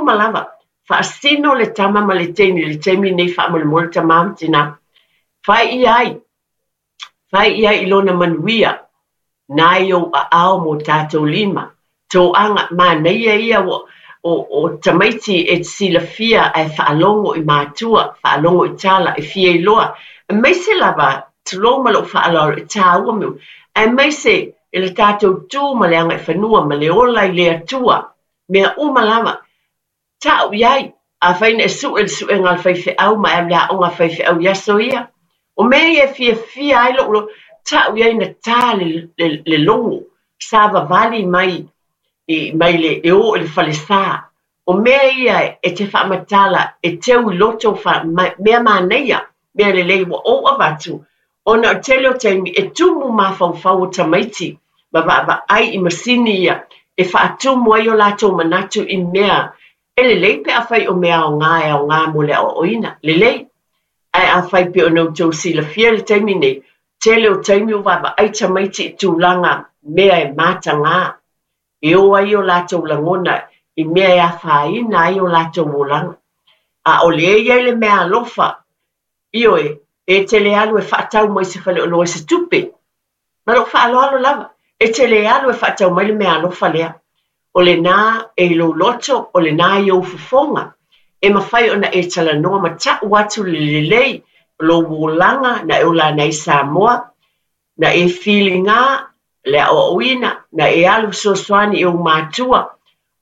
uma lava, faasino le tama ma le teine i le taimi lenei faamolemole tama ma tina. Fai i ai, fai i ai i lona manuia, na i ou aao ma o tatou lima. Toaga, manaia ia ua o, o tamaiti e te silafia ae faalogo i matua, faalogo i tala, e fia iloa. Aemaise lava, tulou ma lou faaaloalo, e taua mea uma. Aemaise i le tatou tu ma le agaifanua ma le ola i le Atua, mea uma lava. Tau i ai, afai na e sue le suega a le faifeau ma e alu i le aoga a faifeau i aso ia, o mea ia e fiafia ai lou loto, tau i ai na ta le, le, le logo, savavali mai, i, mai le, e o i le falesa. O mea ia e te faamatala e teu i loto fa, ma, mea manaia, mea lelei ua ou avatu, ona o le tele o taimi e tumu mafaufau o tamaiti ma vaavaai i masini ia e faatumu ai o latou manatu i mea e lelei pe afai o mea aoga e aoga mo le aoaoina. Lelei. Ae afai pei ona outou silafia i le taimi nei, tele o taimi ua vaavaai tamaiti i tulaga mea e mataga, e o ai o latou lagona i mea e afaina ai o latou olaga. A o lea e i ai le meaalofa Ioe, e te le alu e faatau mai se faleoloa i se tupe. Ma lou faaaloalo lava, e te le alu e faatau mai le meaalofa lea. O lena e i lou loto, o lena i ou fofoga, e mafai ona e talanoa ma tau atu le lelei o lou olaga na e ola ana i Samoa, na e filiga le aoaoina, na e alu fesoasoani i ou matua.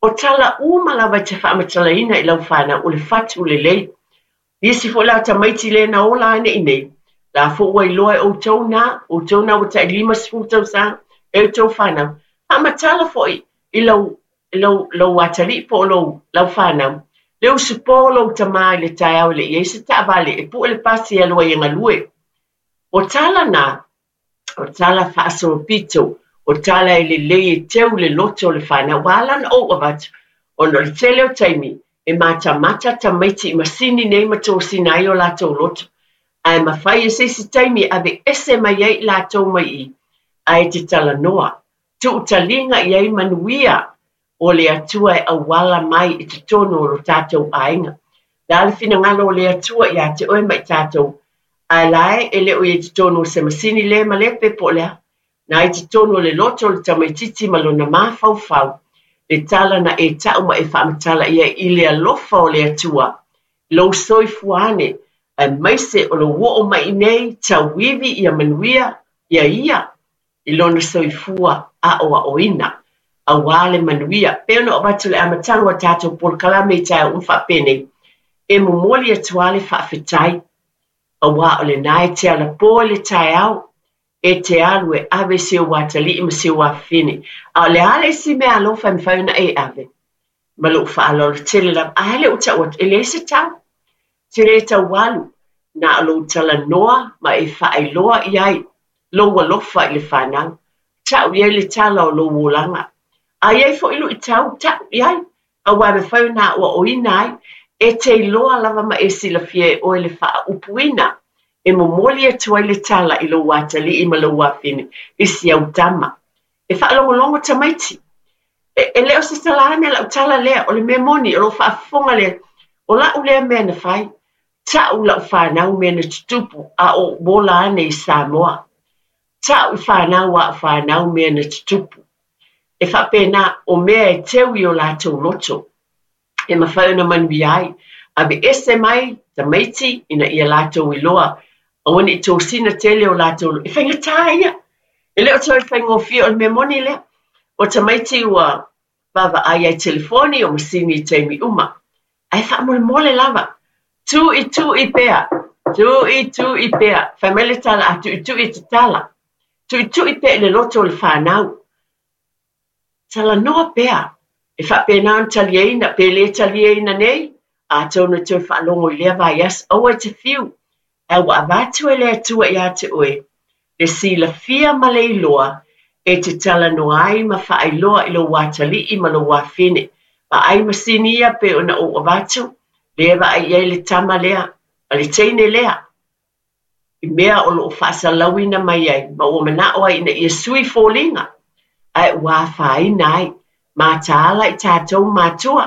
O tala uma lava e te faamatalaina i lau fanau, o le fatu lelei. Isi foi la tamaiti lea na ola ane i nei, la foi ua iloa e outou na, outou na ua tai 50 tausaga, e outou fanau. Faamatala foi i lau, lou, lou atalii po o lou, lau fanau, le usupo o lou tama i le taeao e le i i ai se taavale e pue le pasi e alu ai e galue. O tala na, o tala faasolopito, o tala e lelei e teu le loto o le fanau. Ua ala ona ou avatu, ona o le tele o taimi e matamata tamaiti i masini nei ma tosina ai o latou loto. Ae mafai e se isi taimi e aveese mai ai i latou mai i, ae te talanoa, tuu taliga i ai manuia o le Atua e auala mai i totonu o lo tatou aiga. Le a le finagalo o le Atua ia te oe ma i tatou, ae la e e le o i ai totonu o se masini le malepe po o le a, na i totonu o le loto o le tamaitiiti ma lona mafaufau, le tala na e ta'u ma e faamatala i ai i le alofa o le Atua, lou soifua ane, aemaise o lou oo mai i nei, tauivi ia manuia ia ia i lona soifua aoaoina, aua le manuia. Pei ona avatu le amataga o tatou polokalame i taeao uma faapenei, e momoli atu lava le faafetai, aua o lena e te alapo i le taeao, e te alu e ave si ou atalii ma si ou afafine. A o le a le isi meaalofa e mafai ona e ave? Ma lou faaaloalo tele lava, a le ua tau atu, e leai se tau. Te le tau alu, na o lou talanoa ma e faailoa i ai lou alofa i le fanau. Tau i ai le tala o lou olaga. A i ai foi luitau, tau i ai, aua e mafai ona aoaoina ai. E te iloa lava ma e silafia e oe le faaupuina e momoli atu ai le tala i lou atalii ma lou afine i si au tama. E faalogologo tamaiti. E, e le o se tala ane lau tala lea, o le mea moni, o lou faafofoga lea, o lau lea mea na fai. Ta'u lau fanau mea na tutupu a o ou ola ane i Samoa. Ta'u i fanau a au fanau mea na tutupu. E faapena, o mea e teu i o latou loto, e mafai ona manuia ai. Aveese mai tamaiti ina ia latou iloa, aua ne i tosina tele o latou, e faigata ia. E le o toe faigofie, o le mea moni lea. O tamaiti ua vaavaai ai i telefoni o masini i taimi uma. Ae faamolemole lava, tuitui pea, tuitui pea. Fai mai le tala, a tuitui e tatala. Tuitui pea i le loto o le fanau. Talanoa pea, e faapena ona taliaina, pe le taliaina nei, atonu e toe faalogo i lea vaiaso, aua e te fiu, ae ua avatu e le Atua ia te oe le silafia ma le iloa e te talanoa ai ma faailoa i lou atalii ma lou afine. Vaai masini ia pei ona ou avatu, lea e vaai i ai le tama lea ma le teine lea i mea o lo o faasalauina mai ai ma ua manao ai ina ia sui foliga, ae ua afaina ai. Mataala i tatou matua.